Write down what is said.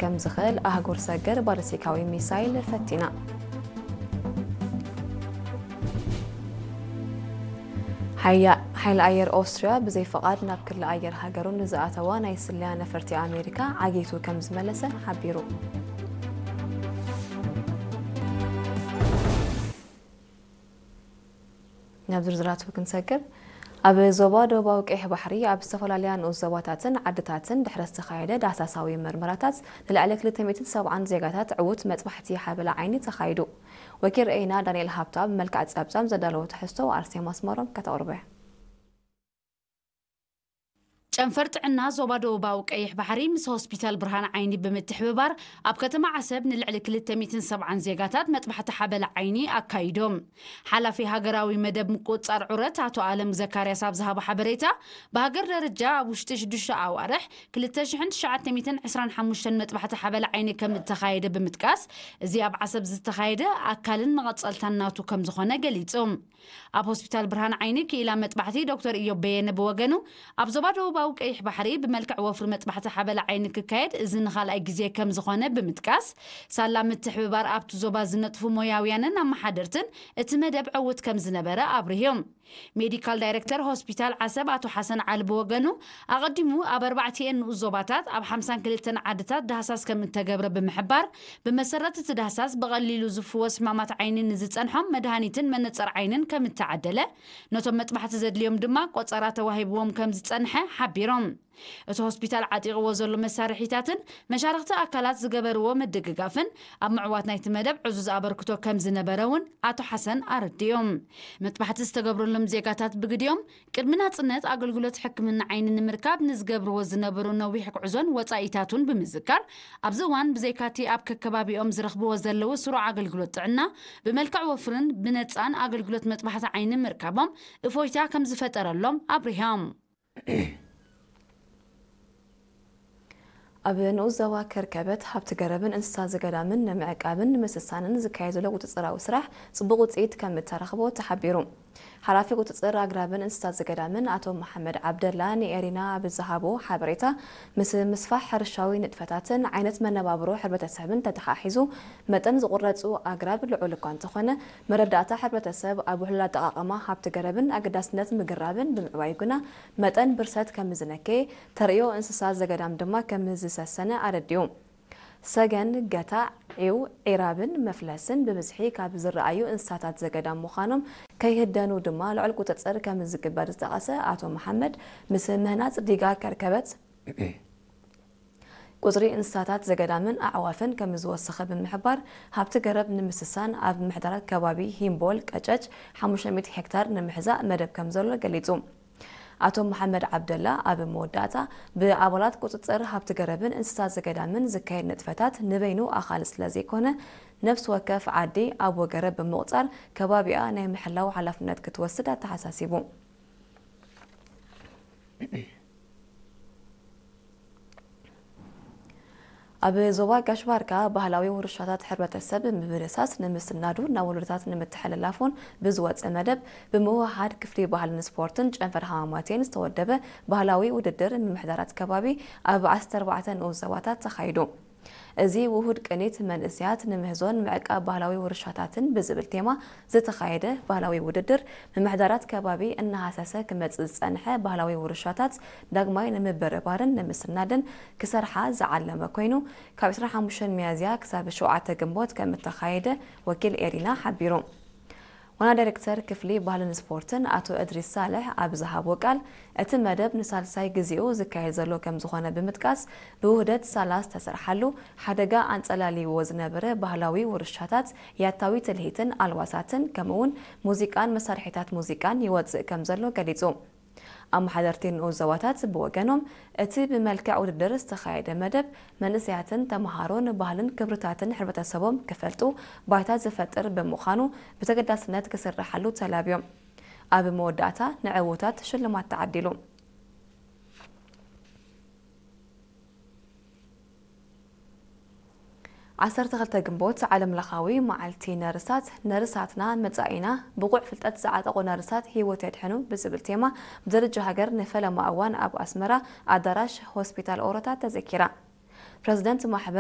ከም ዝኽእል ኣህጉር ሰገር ባሊስቲካዊ ሚሳይል ፈቲና። ሓያ-፣ ሓይሊ ኣየር ኦስትርያ ብዘይፍቓድ ናብ ክሊ ኣየር ሃገሩ ንዝኣተዋ ናይ ስለያ ነፈርቲ ኣሜሪካ ዓጊቱ ከም ዝመለሰ ሓቢሩ። ናብ ዝርዝራቱ ክንሰግር፣ ኣብ ዞባ ደቡባዊ ቀይሕ ባሕሪ ኣብ ዝተፈላለያ ንኡስ ዞባታትን ዓድታትን ድሕሪ ዝተኻየደ ዳህሳሳዊ መርመራታት ንልዕሊ ክልተ ሚእትን ሰብዓን ዜጋታት ዕዉት መጥባሕቲ ሓበላ ዓይኒ ተኻይዱ። ወኪል ርአይና ዳንኤል ሃብታ ብመልክዕ ጸብጻብ ዘዳለዎ ትሕዝቶ ኣርሴማ ኣስመሮም ከተቕርቦ እያ። ጨንፈር ጥዕና ዞባ ደቡባዊ ቀይሕ ባሕሪ ምስ ሆስፒታል ብርሃን ዓይኒ ብምትሕብባር ኣብ ከተማ ዓሰብ ንልዕሊ ክልተ ሚእትን ሰብዓን ዜጋታት መጥባሕቲ ሓበላ ዓይኒ ኣካይዶም። ሓላፊ ሃገራዊ መደብ ምቁጽጻር ዑረት ኣቶ ኣለም ዘካርያስ ኣብ ዝሃቦ ሓበሬታ፣ ብሃገር ደረጃ ኣብ ውሽጢ ሽዱሽተ ኣዋርሕ ክልተ ሽሕን ትሽዓተ ሚእትን ዕስራን ሓሙሽተን መጥባሕቲ ሓበላ ዓይኒ ከም እተኻየደ ብምጥቃስ፣ እዚ ኣብ ዓሰብ ዝተኻየደ ኣካልን መቐጸልታን ናቱ ከም ዝኾነ ገሊጹ። ኣብ ሆስፒታል ብርሃን ዓይኒ ክኢላ መጥባሕቲ ዶክተር ኢዮብ በየነ ብወገኑ፣ ኣብ ዞባ ደቡባዊ ቀይሕ ባሕሪ ብመልክዕ ወፍሪ መጥባሕቲ ሓበላ ዓይኒ ክካየድ እዚ ንኻልኣይ ግዜ ከም ዝኾነ ብምጥቃስ፣ ሳላ ምትሕብባር ኣብቲ ዞባ ዝነጥፉ ሞያውያንን ኣመሓደርትን እቲ መደብ ዕዉት ከም ዝነበረ ኣብሪሆም። ሜዲካል ዳይሬክተር ሆስፒታል ዓሰብ ኣቶ ሓሰን ዓሊ ብወገኑ፣ ኣቐዲሙ ኣብ ኣርባዕቲኤን ንኡስ ዞባታት ኣብ ሓምሳን ክልተን ዓድታት ዳህሳስ ከም እተገብረ ብምሕባር፣ ብመሰረት እቲ ዳህሳስ ብቐሊሉ ዝፍወስ ሕማማት ዓይኒ ንዝጸንሖም መድሃኒትን መነጸር ዓይንን ከም እተዓደለ፣ ነቶም መጥባሕቲ ዘድልዮም ድማ ቆጸራ ተዋሂብዎም ከም ዝጸንሐ ሓቢሮም። እቲ ሆስፒታል ዓጢቕዎ ዘሎ መሳርሒታትን መሻርኽቲ ኣካላት ዝገበርዎ ምድግጋፍን ኣብ ምዕዋት ናይቲ መደብ ዕዙዝ ኣበርክቶ ከም ዝነበረ እውን ኣቶ ሓሰን ኣረዲኦም። መጥባሕቲ ዝተገብረሎም ዜጋታት ብግዲኦም፣ ቅድሚ ናጽነት ኣገልግሎት ሕክምና ዓይኒ ንምርካብ ንዝገብርዎ ዝነበሩ ነዊሕ ጉዕዞን ወጻኢታቱን ብምዝካር፣ ኣብዚ እዋን ብዘይካቲ ኣብ ከከባቢኦም ዝረኽብዎ ዘለዉ ስሩዕ ኣገልግሎት ጥዕና፣ ብመልክዕ ወፍርን ብነጻን ኣገልግሎት መጥባሕቲ ዓይኒ ምርካቦም እፎይታ ከም ዝፈጠረሎም ኣብሪሆም። ኣብ ንኡስ ዞባ ከርከበት ሃብቲ ገረብን እንስሳ ዘገዳምን ንምዕቃብን ንምስሳንን ዝካየድ ዘሎ ቁጽጽራዊ ስራሕ ጽቡቕ ውጽኢት ከም እተረኽቦ ተሓቢሩ። ሓላፊ ቁጽጽር ኣግራብን እንስሳ ዘገዳምን ኣቶ መሓመድ ዓብደላ ንኤሪና ኣብ ዝሃቦ ሓበሬታ፣ ምስ ምስፋሕ ሕርሻዊ ንጥፈታትን ዓይነት መነባብሮ ሕብረተሰብን ተተሓሒዙ፣ መጠን ዝቑረጹ ኣግራብ ልዑል እኳ እንተኾነ፣ መረዳእታ ሕብረተሰብ ኣብ ውሕሉል ኣጠቓቕማ ሃብቲ ገረብን ኣገዳስነት ምግራብን ብምዕባዩ ግና መጠን ብርሰት ከም ዝነከየ፣ ተርእዮ እንስሳ ዘገዳም ድማ ከም ዝሰሰነ ኣረዲኡ። ሰገን፣ ገታዕ፣ ዒው፣ ዒራብን መፍለስን ብብዝሒ ካብ ዝረኣዩ እንስሳታት ዘገዳም ምዃኖም ከይህደኑ ድማ ልዑል ቁጽጽር ከም ዝግበር ዝጠቐሰ ኣቶ መሓመድ፣ ምስ ምህናጽ ዲጋ ከርከበት ቁጽሪ እንስሳታት ዘገዳምን ኣዕዋፍን ከም ዝወሰኸ ብምሕባር፣ ሃብቲ ገረብ ንምስሳን ኣብ ምሕዳራት ከባቢ ሂምቦል ቀጨጭ ሓሙሽተ ሚእቲ ሄክታር ንምሕዛእ መደብ ከም ዘሎ ገሊጹ። ኣቶ መሓመድ ዓብደላ ኣብ መወዳእታ፣ ብኣባላት ቁጽጽር ሃብቲ ገረብን እንስሳ ዘገዳምን ዝካየድ ንጥፈታት ንበይኑ ኣኻሊ ስለ ዘይኮነ፣ ነፍሲ ወከፍ ዓዲ ኣብ ወገረብ ብምቑጻር ከባቢኣ ናይ ምሕላው ሓላፍነት ክትወስድ ኣተሓሳሲቡ። ኣብ ዞባ ጋሽ ባርካ ባህላዊ ውርሻታት ሕብረተሰብ ምብርሳስ ንምስናዱ ናብ ወለዶታት ንምትሕልላፉን ብዝወፀ መደብ ብምውህሃድ ክፍሊ ባህልን ስፖርትን ጨንፈር ሃማማቴን ዝተወደበ ባህላዊ ውድድር ምምሕዳራት ከባቢ ኣብ ዓሰርተ ኣርባዕተ ንኡስ ዞባታት ተኻይዱ። እዚ ውሁድ ቅኒት መንእሰያት ንምህዞን ምዕቃብ ባህላዊ ውርሻታትን ብዝብል ቴማ ዝተኻየደ ባህላዊ ውድድር፣ ምምሕዳራት ከባቢ እናሃሰሰ ክመጽእ ዝጸንሐ ባህላዊ ውርሻታት ዳግማይ ንምብርባርን ንምስናድን ክሰርሓ ዝዓለመ ኮይኑ፣ ካብ ዕስራን ሓሙሽተን ሚያዝያ ክሳብ ሸውዓተ ግንቦት ከም እተኻየደ ወኪል ኤሪና ሓቢሩ። ዋና ዳይሬክተር ክፍሊ ባህልን ስፖርትን ኣቶ እድሪስ ሳልሕ ኣብ ዝሃቦ ቃል፣ እቲ መደብ ንሳልሳይ ግዜኡ ዝካየድ ዘሎ ከም ዝኾነ ብምጥቃስ፣ ብውህደት ሳላ ዝተሰርሓሉ፣ ሓደጋ ኣንጸላልይዎ ዝነበረ ባህላዊ ውርሻታት፣ ያታዊ ትልሂትን ኣልባሳትን፣ ከምኡ'ውን ሙዚቃን መሳርሒታት ሙዚቃን ይወጽእ ከም ዘሎ ገሊጹ። ኣመሓደርቲ ንኡስ ዞባታት ብወገኖም፣ እቲ ብመልክዕ ውድድር ዝተኻየደ መደብ፣ መንእሰያትን ተመሃሮን ባህልን ክብርታትን ሕብረተሰቦም ክፈልጡ ባይታ ዝፈጥር ብምዃኑ፣ ብተገዳስነት ክስርሓሉ ተላብዮም። ኣብ መወዳእታ፣ ንዕዉታት ሽልማት ተዓዲሉ። ዓሰርተ ክልተ ግንቦት ዓለም ለኻዊ መዓልቲ ነርሳት፣ ነርሳትና መጻኢና፣ ብቑዕ ፍልጠት ዝዓጠቑ ነርሳት ህይወት የድሕኑ ብዝብል ቴማ ብደረጃ ሃገር ንፈለማ እዋን ኣብ ኣስመራ ኣዳራሽ ሆስፒታል ኦሮታ ተዘኪራ። ፕረዚደንት ማሕበር